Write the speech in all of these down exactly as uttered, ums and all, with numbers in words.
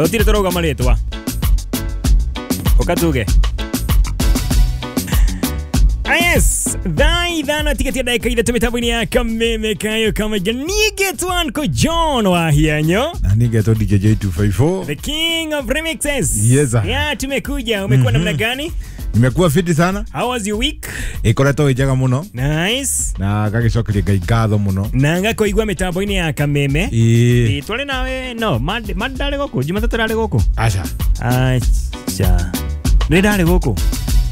Gutire turauga maritwa. Ukatuge. Yes, thaa ithano tigetia ndagika ithatũ mĩtambo-inĩ ya Kameme Kayo Kamaingĩ. Niĩ ngetwo Uncle John wa Hianyo, na niĩ ngetwo D J J two five four, the king of remixes. Yes sir. Yeah, tumekuja. Umekuwa namna gani? Nimekuwa fiti sana. How was your week? Ikoretwo ĩ njega mũno. Nice. Na ngagicokeria Ngai ngatho mũno. Na ngakoigua mĩtambo-inĩ ya Kameme. Ĩĩ. Twari nawe no, Monday ndarĩ gũkũ, Jumatatũ ndarĩ gũkũ. Aca. Aca. Nĩ ndarĩ gũkũ.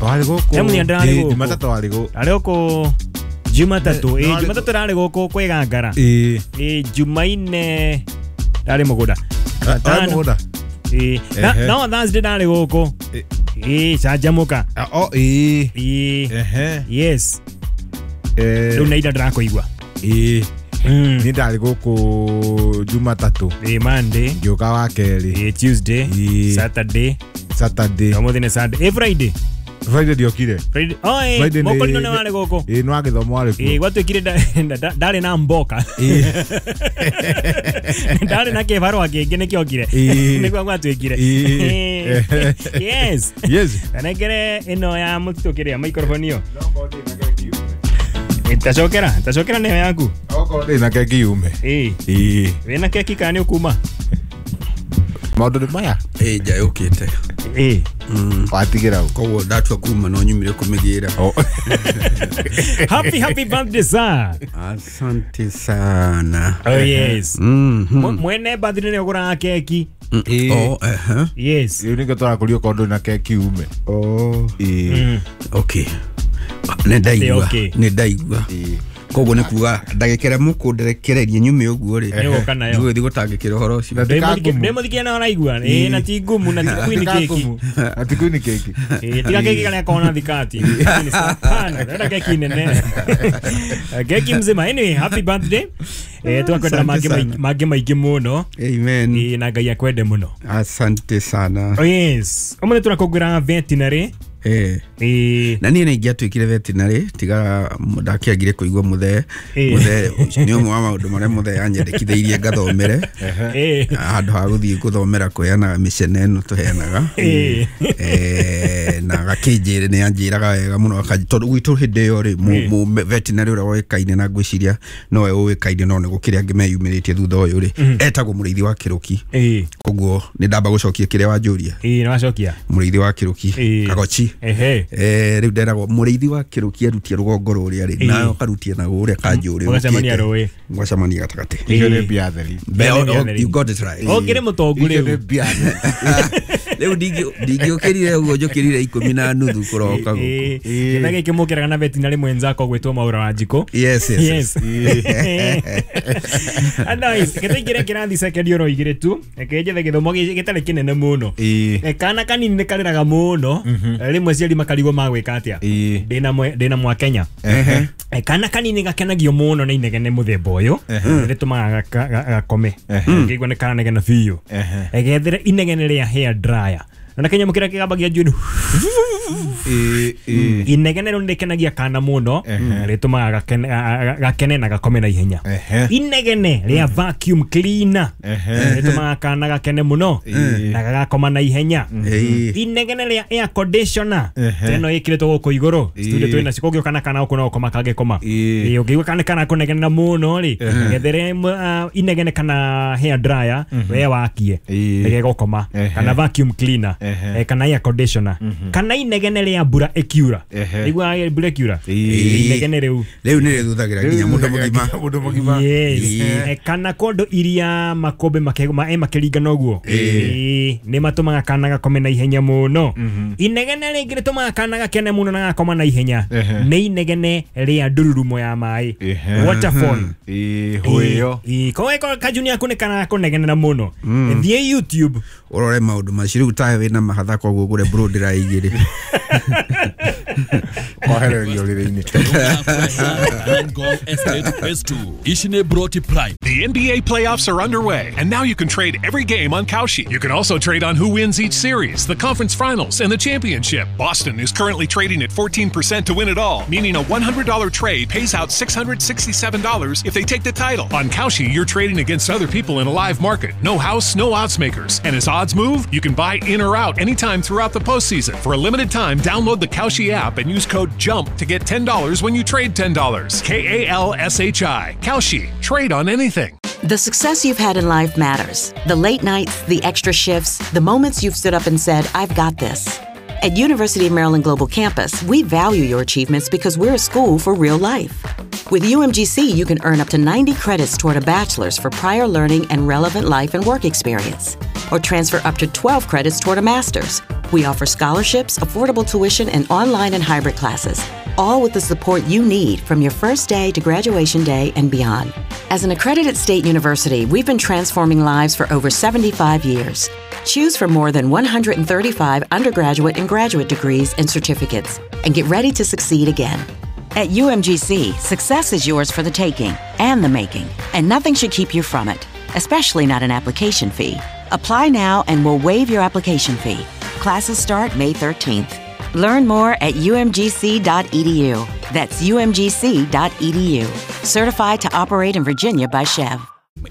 Warĩ gũkũ. He mũthenya ndĩrarĩ gũkũ. Jumatatũ warĩ gũkũ. Ndarĩ gũkũ Jumatatũ. Ĩĩ, Jumatatũ ndarĩ gũkũ kwĩgangara. Ĩĩ. Ĩĩ, Jumaine ndarĩ mũgũnda. Ndarĩ mũgũnda. Ĩĩ. No Thursday ndarĩ gũkũ. Ĩĩ, canjamũka. Oh, ĩĩ. Ĩĩ. Ehe. Yes. Eh. Rĩu nĩ ira ndĩrakũigua. Ĩĩ. Nĩ ndarĩ gũkũ Jumatatũ. Ĩĩ, Monday. Ngĩũka wa kerĩ. Ĩĩ, Tuesday. Saturday. Saturday. Ũmũthĩ nĩ Sunday. Ĩĩ, Friday. Friday ndiokire. Friday. Oh, eh, mokorino nĩ warĩ gũkũ. Ĩĩ, nĩ wagĩthomo warĩ kuo. Ĩĩ, gwatuĩkire ndarĩ na mboka. Ĩĩ. Ndarĩ na kĩbarũa kĩngĩ nĩkĩokire. Nĩguo gwatuĩkire. Yes. Yes. Tanengere ĩno ya mũtitũ kĩrĩa microphone ĩyo. Ĩtacokera, ĩtacokera nĩyo yaku. Okorwo ndĩ na keki yume. Ĩĩ. Ĩĩ. Wĩna keki kana nĩ ũkuma? Maũndũ nĩ maya? Ĩĩ, nja yũkĩte. Ĩĩ. Watigĩra ũ? Koguo ndatua kuma no nyumire kũmĩgĩra. Happy happy birthday sir. Asante sana. Oh yes. Mm-hmm. Mwene birthday nĩ ũgũraga keki. Ĩĩ. Oh, eh. Yes. Rĩu nĩkĩo tũrakũria okorwo ndũrĩ na keki ume. Oh. Ĩĩ. Okay. Nĩ ndaigua. Okay. Nĩ ndaigua. Ĩĩ. Koguo nĩ kuga ndagĩka ĩrĩa mũkũnderekereria nyume ũguo rĩ, Nĩgũka nayo. ndigũgĩthiĩ gũtangĩkĩra ũhoro ũcio. Ndĩ mũthikia na ũraigua. Ĩĩ, na ti ngumu na ti queen keki. Na ti queen keki. Ĩĩ, tiga keki karĩa kona thikati. Hapana, ndĩrenda keki nene. Keki mzima. Anyway, happy birthday. Eh, twakwenda mangĩ mangĩ maingĩ mũno. Amen. Ĩĩ, na Ngai akwende mũno. Asante sana. Oh yes. Ũmũthĩ tũrakũngũĩra veterinary. Eh. Eh. Na niĩ nĩ ingĩatuĩkire veterinary tiga ndakĩagire kũigua mũthee. Mũthee nĩ ũmwe wa maũndũ marĩa mũthee anyendekithĩirie ngathomere. Eh. Handũ ha gũthiĩ gũthomera kũheanaga mĩcene ĩno tũheanaga. Eh. Eh, na agakĩnjĩra nĩ anjĩraga wega mũno tondũ gwitũ hĩndĩ ĩyo rĩ mũ veterinary ũrĩa woĩkaine na ngwĩciria nowe ũĩkaine no nĩ gũkĩrĩ angĩ meyumĩrĩtie thutha ũyũ rĩ etagwo Mũrĩithi wa Kĩrũki. Koguo nĩ ndamba gũcokia kĩrĩa wanjũria. Ĩĩ, nĩ wacokia. Mũrĩithi wa Kĩrũki Kagochi. Ehe. Eh, rĩu nderagwo Mũrĩithi wa Kĩrũki arutie rũgongo rũrĩa rĩ nayo karutie na rũrĩa kanjũrĩ mũgacemania rũĩ mũgacemania gatagatĩ. Icio nĩ mbia theri. You got it right. Ũkĩrĩ mũtongu Icio rĩu. nĩ mbia theri. Rĩu ndingĩũkĩrire ũguo njũkĩrire ikũmi na nuthu kũroka gũkũ. Gĩtha gĩkĩ mũkĩraga na veterinary mwenzako gwĩtwo Maura wa Njikũ. Yes, yes. Yes. Otherwise, gĩtũingĩre kĩrathi second oro igĩrĩ tu. Reke njethe gĩthomo gĩtarĩ kĩnene mũno. Kana kanini nĩ karĩraga mũno. Rĩmwe aciari makarigwo magwĩka atĩa. Ndĩna ndĩna mwa Kenya. Kana kanini gakenagio mũno nĩ inegene mũthemba ũyũ. Rĩtũmaga gakome. Ngĩigua nĩ karanegena biũ. Gethere inegene rĩa hair dryer. Na kenya mukira kĩgambagia njuĩrĩ. Inegene rĩu nĩrĩkenagia kana mũno, rĩtũmaga gakene na gakome na ihenya. Inegene rĩa vacuum cleaner rĩtũmaga kana gakene mũno na gagakoma na ihenya. Inegene rĩa air conditioner ĩno ĩkĩrĩtwo gũkũ igũrũ studio twĩna cio kũngĩũka na kana gũkũ no gũkoma kangĩkoma. Ĩĩ, ũngĩigua kana kana kũnegenera mũno rĩ, gethere inegene kana hair dryer we wakie nĩgegũkoma, kana vacuum cleaner kana air conditioner kana inegene rĩa mbura ĩkiura. Igua mbura ĩkiura inegene rĩu rĩu nĩ rĩthuthagĩra nginya mũndũ mũgima. Mũndũ mũgima. Yes. Kana kondo iria makombe makĩringana ũguo nĩ matũmaga kana gakome na ihenya mũno. Inegene rĩngĩ rĩtũmaga kana gakene mũno na gakoma na ihenya nĩ inegene rĩa ndururumo ya maĩ, waterfall. Ĩĩ, hũĩyo. Ĩĩ, koguo kajuni yaku nĩ kana kũnegenera mũno. Thiĩ YouTube ũrore maũndũ macio. Rĩu tawe wĩna mahatha koguo ũgũre blow dryer igĩrĩ. Kohererio rĩrĩ-inĩ. Ngong Estate Phase two. Ici nĩ Broti Prime. The N B A playoffs are underway, and now you can trade every game on Kalshi. You can also trade on who wins each series, the conference finals, and the championship. Boston is currently trading at fourteen percent to win it all, meaning a one hundred dollar trade pays out six hundred sixty-seven dollars if they take the title. On Kalshi, you're trading against other people in a live market. No house, no odds makers. And as odds move, you can buy in or out anytime throughout the postseason. For a limited time, download the Kalshi app and use code JUMP to get ten dollars when you trade ten dollars. K A L S H I. Kalshi. Trade on anything. The success you've had in life matters. The late nights, the extra shifts, the moments you've stood up and said, I've got this. At University of Maryland Global Campus, we value your achievements because we're a school for real life. With U M G C, you can earn up to ninety credits toward a bachelor's for prior learning and relevant life and work experience, or transfer up to twelve credits toward a master's. We offer scholarships, affordable tuition, and online and hybrid classes, all with the support you need from your first day to graduation day and beyond. As an accredited state university, we've been transforming lives for over seventy-five years. Choose from more than one hundred thirty-five undergraduate and graduate degrees and certificates, and get ready to succeed again. At U M G C, success is yours for the taking and the making, and nothing should keep you from it, especially not an application fee. Apply now and we'll waive your application fee. Classes start May thirteenth. Learn more at U M G C dot E D U. That's U M G C dot E D U. Certified to operate in Virginia by Chev.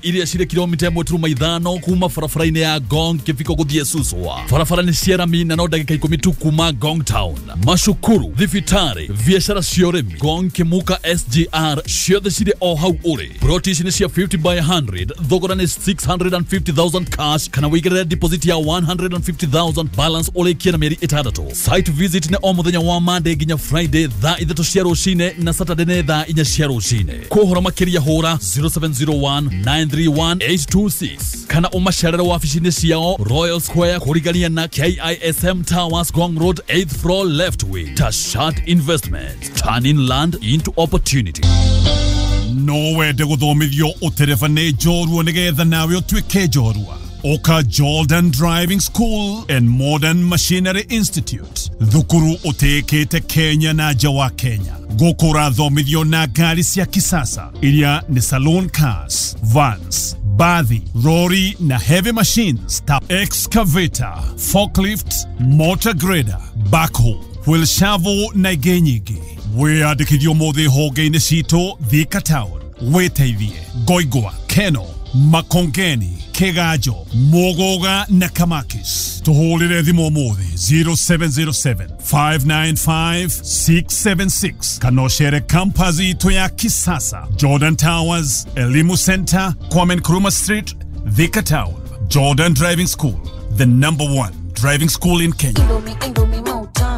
Iria cirĩ kilomita ĩmwe turuma ithano kuma barabara-inĩ ya Ngong kĩbiko gũthiĩ Suswa. Barabara nĩ cia rami na no ndagĩka ikũmi tu kuma Ngong Town. Macukuru, thibitarĩ, biacara cia ũrĩmi, Ngong Kĩmuka S G R ciothe cirĩ o hau ũrĩ. Ploti ici nĩ cia fifty by hundred, thogora nĩ six hundred fifty thousand cash kana wĩigĩrĩre deposit ya one hundred fifty thousand, balance ũrĩkie na mĩeri ĩtandatũ. Site visit nĩ o mũthenya wa Monday nginya Friday thaa ithatũ cia rũcinĩ na Saturday nĩ thaa inya cia rũcinĩ. Kwa ũhoro makĩria hũra zero seven zero one nine three one eight two six kana umacerere wabici-inĩ ciao Royal Square kũrigania na K I S M Towers, Ngong Road, eighth floor left wing. Tashat Investments, turning land into opportunity. No wende gũthomithio ũtereba nĩ njorua nĩgetha nawe ũtuĩke njorua. Oka Jordan Driving School and Modern Machinery Institute, thukuru ũtĩĩkĩte Kenya na nja wa Kenya. Gũkũ ũrathomithio na ngari cia kisasa iria nĩ saloon cars, vans, bathi, lorry na heavy machines ta excavator, forklift, motor grader, backhoe, wheel shovel na ingĩ nyingĩ. Wĩyandĩkithio ũmũthĩ honge-inĩ citũ Thika Town, Wĩteithie, Ngoingwa, Keno, Makongeni, Kigajo, Muguga na Kamakis. Tuhũrĩre thimũ ũmũthĩ zero seven zero seven five nine five six seven six kana ũcere campus itũ ya kisasa, Jordan Towers, Elimu Center, Kwame Nkrumah Street, Thika Town. Jordan Driving School, the number one driving school in Kenya.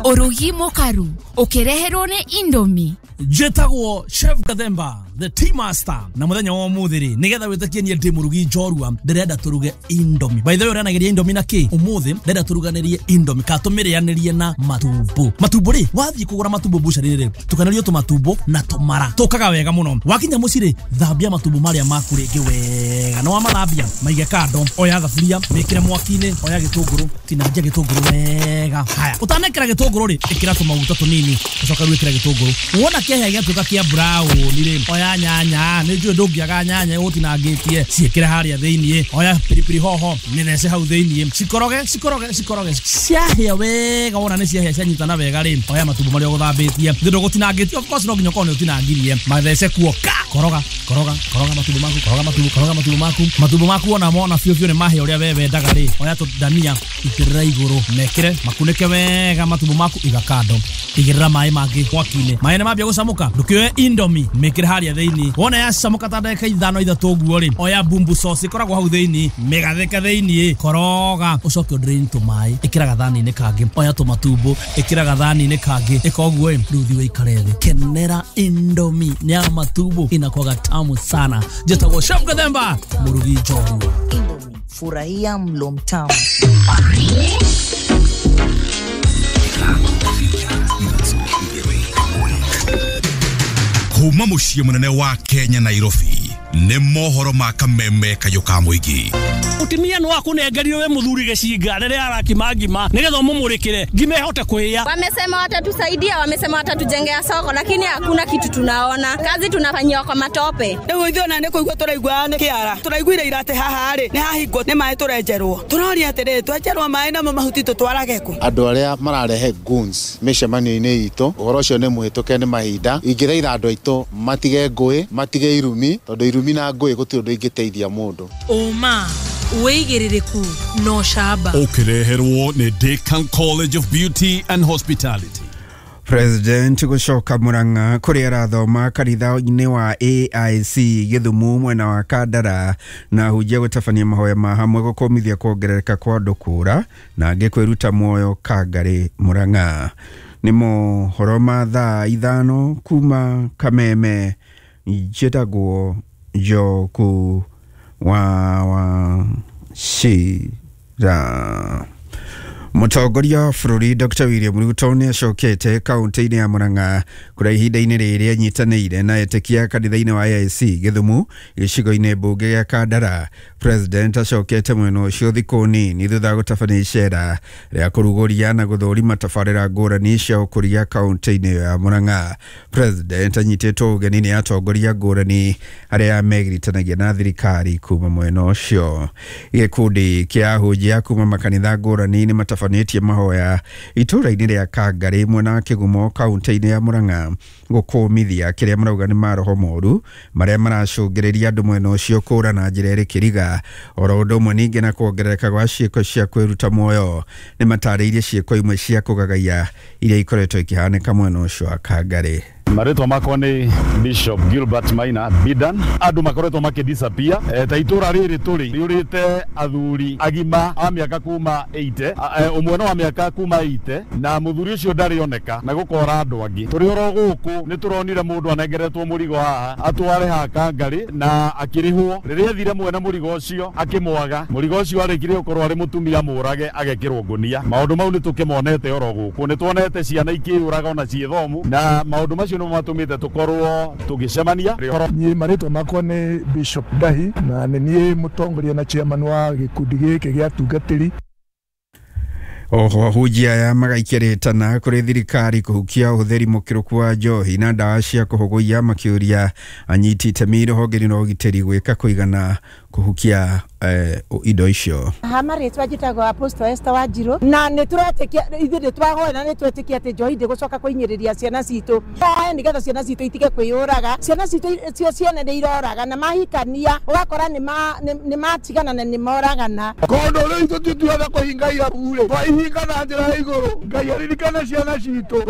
Ũrugi mũkaru ũkĩreherwo nĩ Indomie. Njĩtagwo Chef Gathemba, the tea master, na mũthenya wa ũmũthĩ rĩ, nĩgetha wĩtĩkie niĩ ndĩ mũrugi njorua, ndĩrenda tũruge Indomie. By the way, ũrĩanagĩria Indomie na kĩ? Ũmũthĩ ndĩrenda tũruganĩrie Indomie kana tũmĩrĩanĩrie na matumbo. Matumbo rĩ, wathiĩ kũgũra matumbo bucharĩ rĩ, tukanĩrio tũmatumbo na tũmara. Tũkaga wega mũno. Wakinya mũciĩ rĩ, thambia matumbo marĩa maku rĩngĩ wega. Na wamathambia, maige kando, oya thaburia, mĩkĩre mwaki-inĩ, oya gĩtũngũrũ, tinangia gĩtũngũrũ wega. Haya, ũtanekĩra gĩtũngũrũ rĩ, ĩkĩra tũmaguta tũnini, ũcoke rĩu ĩkĩra gĩtũngũrũ. Wona kĩahĩa gĩatuĩka kĩa brown rĩ, oya nyanya, nĩ njũĩ ndũngĩaga nyanya ũtinangĩtie, ciĩkĩre harĩa thĩiniĩ, oya pilipili hoho, mĩthece hau thĩiniĩ, cikoroge, cikoroge, cikoroge, ciahĩa wega, wona nĩ ciahĩa cianyitana wega rĩ, oya matumbo marĩa ũgũthambĩtie, thĩ ndũgũtinangĩtie, of course no nginya ũkorwo nĩ ũtinangirie, mathece kuo ka, koroga, koroga, koroga matumbo maku, koroga matumbo, koroga matumbo maku, matumbo maku wona mona biũ biũ nĩ mahĩa ũrĩa we wendaga rĩ, oya tũndania, itĩrĩra igũrũ, mekĩre, makunĩke wega matumbo maku, iga kando, igĩrĩra maĩ mangĩ mwaki-inĩ, maĩ nĩ mambia gũcamũka, ndũkĩoe Indomie, mĩkĩre harĩa thĩiniĩ, wona yacamũka ta ndagĩka ithano ithatũ ũguo rĩ, oya bumbu sauce ĩkoragwo hau thĩiniĩ, mĩgathĩke thĩiniĩ, koroga, ũcoke ũdrain tũmaĩ, ĩkĩra gathani-inĩ kangĩ, oya tũmatumbo, ĩkĩra gathani-inĩ kangĩ, ĩka ũguo ĩ, rĩu thiĩ ũikare thĩ, kenera Indomie ya matumbo, inakuwaga tamu sana. Njĩtagwo Chef Gathemba, mũrugi njorua. Indomie, furahia mlo mtamu. Kuma muciĩ mũnene wa Kenya Nairobi, Nĩ mohoro ma kameme kayũ ka mũingĩ. Mutumia no akunengerio we muthuri gicinga riria arakima ngima nigetha umumurikire ngima ihote kuhia. Wamesema watatusaidia, wamesema watatujengea soko, lakini hakuna kitu tunaona. Kazi tunafanyiwa kwa matope. Riu ithuĩ ona nĩ kũigua tũraigua nĩ kĩara. Tũraiguire ira atĩ haha rĩ nĩ hahingwo nĩ maĩ tũrenjerwo. Tũroria atĩrĩrĩ, twenjerwo maĩ namo mahuti tũtwarage kũ? Andũ arĩa mararehe goons mĩcemanio-inĩ itũ, ũhoro ũcio nĩ mũhĩtũke nĩ mahinda. Ingĩthaitha andũ aitũ matige ngũĩ, matige irumi, tondũ irumi na ngũĩ gũtirĩ ũndũ ingĩteithia mũndũ. Ũma wĩigĩrĩrĩku no camba. Ũkĩreherwo nĩ Decan College of Beauty and Hospitality. President gũcoka Murang'a kũrĩa arathoma kanitha-inĩ wa A I C Gĩthumo mwena wa Kandara na hunjia gũtabania mahoya ma hamwe gũkũmithia kuongerereka kwa andũ kũra na angĩ kwĩruta muoyo Kangarĩ Murang'a. Nĩ mohoro ma thaa ithano kuma Kameme. Njĩtagwo Njoku wa wa Shira. Mũtongoria wa bũrũri Doctor William Ruto nĩ acokete kaunti-inĩ ya Murang'a kũrĩa ihinda-inĩ rĩrĩ anyitanĩire na etĩkia kanitha-inĩ wa A I C Gĩthumo gĩcigo-inĩ mbunge gĩa Kandara. President acokete mwena ũcio thikũ nini thutha wa gũtabania icera rĩa kũrugũria na gũthũrima tabarĩra ngũrani cia ũkũria kaunti-inĩ ya Murang'a. President anyitĩtwo ũgeni nĩ atongoria ngũrani arĩa megiritanagia na thirikari kuma mwena ũcio. Gĩkundi kĩa ahunjia kuma makanitha ngũrani nĩ matabanĩtie mahoya itũra-inĩ rĩa Kangarĩ mwena wa Kĩgumo kaunti-inĩ ya Murang'a gũkũmithia kĩrĩa marauga nĩ maroho moru marĩa maracũngĩrĩria andũ mwena ũcio kũra na njĩra ĩrĩ kĩriga. Oro ũndũ ũmwe ningĩ na kuongerereka gwa ciĩko cia kwĩruta muoyo nĩ matarĩirie ciĩko imwe cia kũgagaia iria ikoretwo ikĩhanĩka mwena ũcio wa Kangarĩ. Marĩtwa makwa nĩ Bishop Gilbert Maina Bidan. Andũ makoretwo makĩdisappear e, ta itũra rĩrĩ tũrĩ rĩũrĩte athuri agima a mĩaka kuma eighty, ũmwe no wa mĩaka kuma eighty, na mũthuri ũcio ndarĩ oneka na gũkora andũ angĩ. Tũrĩ oro gũkũ nĩ tũronire mũndũ anengeretwo mũrigo haha atware haha Kangarĩ na akĩrĩhwo. Rĩrĩa athire mwene mũrigo ũcio akĩmwaga, mũrigo ũcio arĩkirie gũkorwo arĩ mũtumia mũrage agekĩrwo ngũnia. Maũndũ mau nĩ tũkĩmonete oro gũkũ, nĩ tuonete ciana ikĩyũraga ona ciĩ thomu, na maũndũ macio no matũmĩte tũkorwo tũgĩcemania. Niĩ marĩtwa makwa nĩ Bishop Dahi na nĩ niĩ mũtongoria na chairman wa gĩkundi gĩkĩ gĩa atungatĩri. Oho ahunjia aya magaikia rĩtana kũrĩ thirikari kũhukia ũhũthĩri mũkĩrũku wa njohi na ndawa cia kũhũgũia makĩũria anyiti itemi rũhonge-inĩ rwa ũgitĩri gwĩka kũigana kũhukia eh, indo icio. Ha marĩtwa njĩtagwo Apostle Esther Wanjiru na nĩ tũretĩkia ithuĩ nĩ twahoya na nĩ twetĩkia atĩ njohi ndĩgũcoka kũinyĩrĩria ciana citũ. Tũhoe nĩgetha ciana citũ itige kwĩyũraga. Ciana citũ cio ciene nĩ iroraga na mahikania ũgakora nĩ matigana na nĩ moragana. Kũndũ rĩu ithuĩ tituothe kũhinga irabu rĩ, twaihinga na njĩra ya igũrũ. Ngai aririkane ciana citũ.